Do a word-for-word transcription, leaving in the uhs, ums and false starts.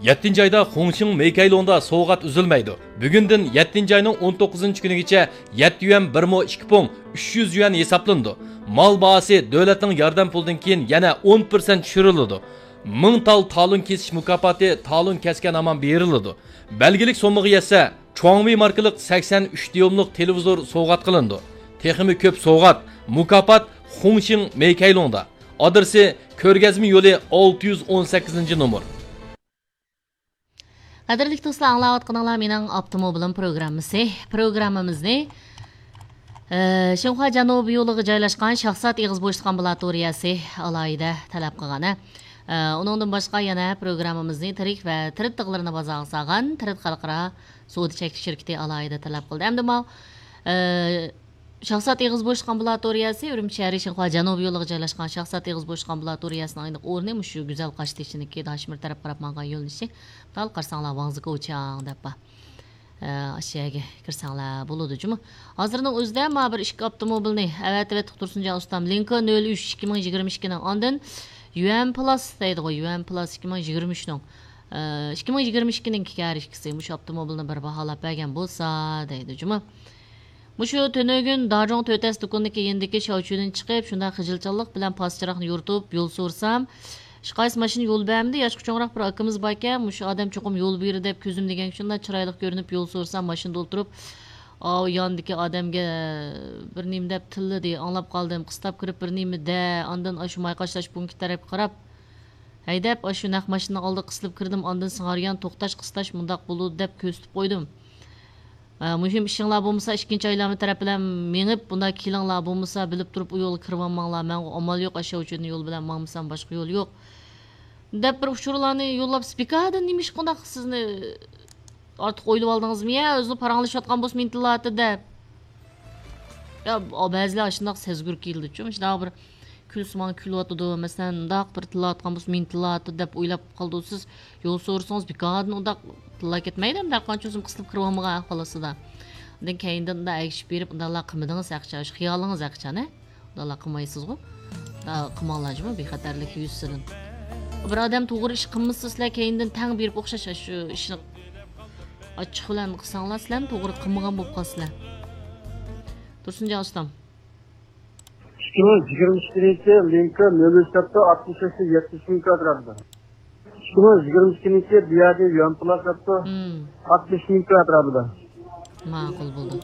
يەتتىنچى ئايدا خۇڭشىڭ مېيكەيلۇڭدا سوۋغات ئۈزۈلمەيدۇ. بۈگۈندىن يەتتىنچى ئاينىڭ ئون توققۇزىنچى كۈنىگىچە يەتتە يۈەن بىر مو ئىككى پۇڭ ئۈچ يۈەن ھېسابلىنىدۇ. مال باھاسى دۆلەتنىڭ ياردەم پۇلىدىن كېيىن يەنە ئون پىرسەنت چۈشۈرۈلىدۇ. مىڭ تال تالون كېسىش مۇكاپاتى تالون كەسكەن ھامان بېرىلىدۇ. بەلگىلىك سوممىغا يەتسە، چۇاڭۋېي ماركىلىق سەكسەن ئۈچ دىيۇملۇق تېلېۋىزور سوۋغات قىلىنىدۇ. تېخىمۇ كۆپ سوۋغات، مۇكاپات خۇڭشىڭ مېيكەيلۇڭدا. ئادرېسى: كۆرگەزمە يولى ئالتە يۈز ئون سەككىزىنچى نومۇر. قەدىرلىك دوستلار، ئاڭلاۋاتقىنىڭلار مېنىڭ ئاپتوموبىلىم پروگراممىسى. پروگراممىمىزنى، ئە، شىنخۇا جەنۇبىي يولىغا جايلاشقان شاھزات ئېغىز بوشلۇق ئامبۇلاتورىيەسى ئالاھىدە تەلەپ قىلغان، ھە. ئە، ئۇنىڭدىن باشقا يەنە پروگراممىمىزنى تىرىك ۋە تىرىت تىغلىرىنى بازارغا سالغان تىرىت خەلقئارا سودا چەكلىك شىركىتى ئالاھىدە تەلەپ قىلدى. ئەمدى ماۋۇ، ئە، شاھزات ئېغىز بوشلۇق ئامبۇلاتورىيەسى، ئۈرۈمچى شەھىرى شىنخۇا جەنۇبىي يولىغا جايلاشقان شاھزات ئېغىز بوشلۇق ئامبۇلاتورىيەسىنىڭ ئېنىق ئورنى مۇشۇ گۈزەل قاشتېشىنىڭكى داشمىر تەرەپ قاراپ ماڭغان يۆنىلىشى. دال قارىساڭلار، ۋاڭزى كوچياڭ دەپ بار. ئە، ئاشۇ يەرگە كىرسەڭلار بولىدۇ جۇمۇ. ھازىرنىڭ ئۆزىدە مانا بىر ئىككى ئاپتوموبىلنى ئەۋەتىۋەتتۇق تۇرسۇنجان ئۇستام. لىنكا نۆل ئۈچ ئىككى مىڭ يىگىرمە ئىككىنىڭ، ئاندىن يۈەن پلاس دەيدىغۇ، يۈەن پلاس ئىككى مىڭ يىگىرمە ئۈچنىڭ، ئە، ئىككى مىڭ يىگىرمە ئىككىنىڭكى ھەر ئىككىسى مۇشۇ ئاپتوموبىلنى بىر باھالاپ بەرگەن بولسا دەيدۇ جۇمۇ. مۇشۇ تۈنۈگۈن داجۇڭ تۆتەس دۇكىنىدىكى يېنىدىكى شاۋچۈدىن چىقىپ، شۇنداق خىجىلچانلىق بىلەن پاس چىراغنى يورۇتۇپ يول سورىسام، ھېچقايسى ماشىنا يول بەرمىدى. ياشقا چوڭراق بىر ئاكىمىز باركەن، مۇشۇ ئادەم چوقۇم يول بېرىدۇ دەپ كۆزۈم دېگەنگە شۇنداق چىرايلىق كۆرۈنۈپ يول سورىسام، ماشىنىدا ئولتۇرۇپ، ئاۋۇ ياندىكى ئادەمگە بىر نېمە دەپ تىللىدى، ئاڭلاپ قالدىم. قىستاپ كىرىپ بىر نېمە دە، ئاندىن ئاشۇ ماي قاچىلاش پونكىتى تەرەپكە قاراپ ھەيدەپ، ئاشۇ نەق ماشىنىنىڭ ئالدىغا قىستىلىپ كىردىم. ئاندىن سىڭاريان، توختاش، قىستاش مۇنداق بولىدۇ دەپ كۆرسىتىپ قويدۇم. ئە، مۇھىم ئىشىڭلار بولمىسا، ئىككىنچى ئايلانما تەرەپ بىلەن مېڭىپ، بۇنداق كېلىڭلار، بولمىسا بىلىپ تۇرۇپ ئۇ يولغا كىرىۋالماڭلار، ماڭا ئامال يوق، ئاشۇ ئۇچۇردىن يول بىلەن ماڭمىسام باشقا يول يوق، دەپ بىر ئۇچۇرلارنى يوللاپ، بىكاردىن نېمە ئىش قانداق سىزنى ئارتۇق ئويلىۋالدىڭىزمۇ يا، ئۆزىنى پاراڭلىشىۋاتقان بولسا مىنتىلاتى دەپ. يا، بەزىلەر ئاشۇنداق سەزگۈر كېلىدىچۇ، شۇنداق بىر كۈلسىمان كۈلۈۋاتىدۇ، مەسىلەن، مۇنداق بىر تىللاۋاتقان بولسا مېنى تىللاۋاتىدۇ دەپ ئويلاپ قالىدۇ سىز. يول سورىسىڭىز بىكاردىن ئۇنداق تىللاپ كەتمەيدۇ، ئەمدى ھەرقانچە ئۆزۈم قىستىلىپ كىرىۋالمىغان ئەھۋال ئاستىدا. ئاندىن كەينىدىن ئۇنداق ئەگىشىپ بېرىپ، ئۇنداقلا قىلمىدىڭىز ھەقىچان، شۇ خىيالىڭىز ھەقىچان، ھە؟ ئۇنداقلا قىلمايسىزغۇ؟ ئۇنداق قىلماڭلار جۇمۇ، بىخەتەرلىك يۈزىسىدىن. بىر ئادەم توغرا ئىش قىلمىسا، سىلەر كەينىدىن تەڭ بېرىپ ئوخشاش شۇ ئىشنى ئاچچىق بىلەن قىلساڭلار، سىلەرمۇ توغرا قىلمىغان بولۇپ قالىسىلەر. تۇرسۇنجان ئۇستام. ئىككى مىڭ يىگىرمە ئىككىنچى لىنكا نۆل ئۈچ ساپتا ئاتمىش ئۈچ يەتمىش مىڭ كۋادراتتا. ئىككى مىڭ يىگىرمە ئىككىنچى بۇ يەردە يۈەن پلاس ساپتا مم. ئاتمىش مىڭ كۋادراتتا. ماقۇل بولدى.